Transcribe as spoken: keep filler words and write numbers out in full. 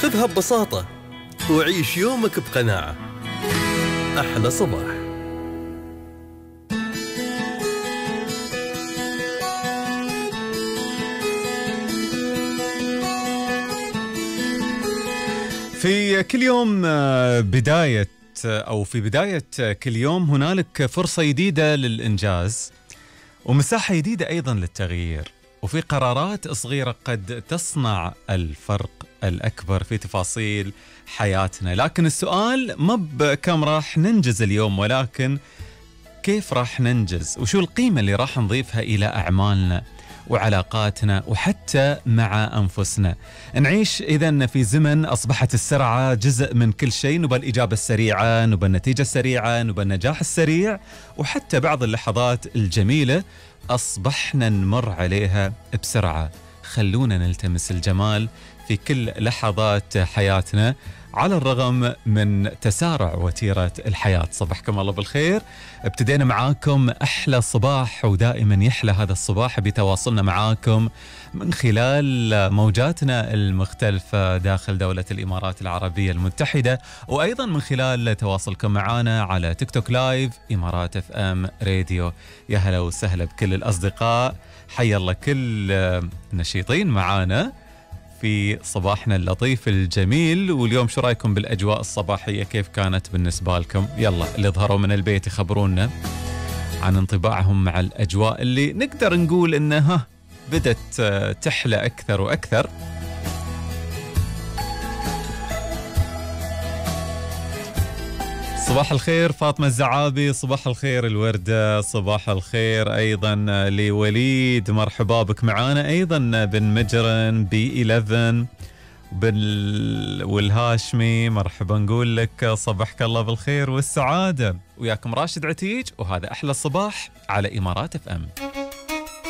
خذها ببساطة وعيش يومك بقناعة. أحلى صباح. في كل يوم بداية أو في بداية كل يوم هنالك فرصة جديدة للإنجاز ومساحة جديدة أيضا للتغيير، وفي قرارات صغيرة قد تصنع الفرق الأكبر في تفاصيل حياتنا. لكن السؤال ما بكم راح ننجز اليوم، ولكن كيف راح ننجز، وشو القيمة اللي راح نضيفها إلى أعمالنا وعلاقاتنا وحتى مع أنفسنا. نعيش إذن في زمن أصبحت السرعة جزء من كل شيء، نبى الإجابة السريعة، نبى النتيجة السريعة، نبى النجاح السريع، وحتى بعض اللحظات الجميلة أصبحنا نمر عليها بسرعة. خلونا نلتمس الجمال في كل لحظات حياتنا على الرغم من تسارع وتيرة الحياة. صبحكم الله بالخير. ابتدينا معاكم أحلى صباح، ودائما يحلى هذا الصباح بتواصلنا معاكم من خلال موجاتنا المختلفة داخل دولة الإمارات العربية المتحدة، وأيضا من خلال تواصلكم معنا على تيك توك لايف إمارات اف ام راديو. يا هلا وسهلا بكل الأصدقاء، حيا الله كل نشيطين معانا في صباحنا اللطيف الجميل. واليوم شو رايكم بالأجواء الصباحية، كيف كانت بالنسبة لكم؟ يلا اللي ظهروا من البيت يخبرونا عن انطباعهم مع الأجواء اللي نقدر نقول إنها بدت تحلى أكثر وأكثر. صباح الخير فاطمة الزعابي، صباح الخير الوردة، صباح الخير أيضا لوليد، مرحبا بك معانا أيضا بن مجرن بي إحداشر بال... والهاشمي، مرحبا نقول لك صبحك الله بالخير والسعادة. وياكم راشد عتيج، وهذا أحلى الصباح على إمارات اف ام.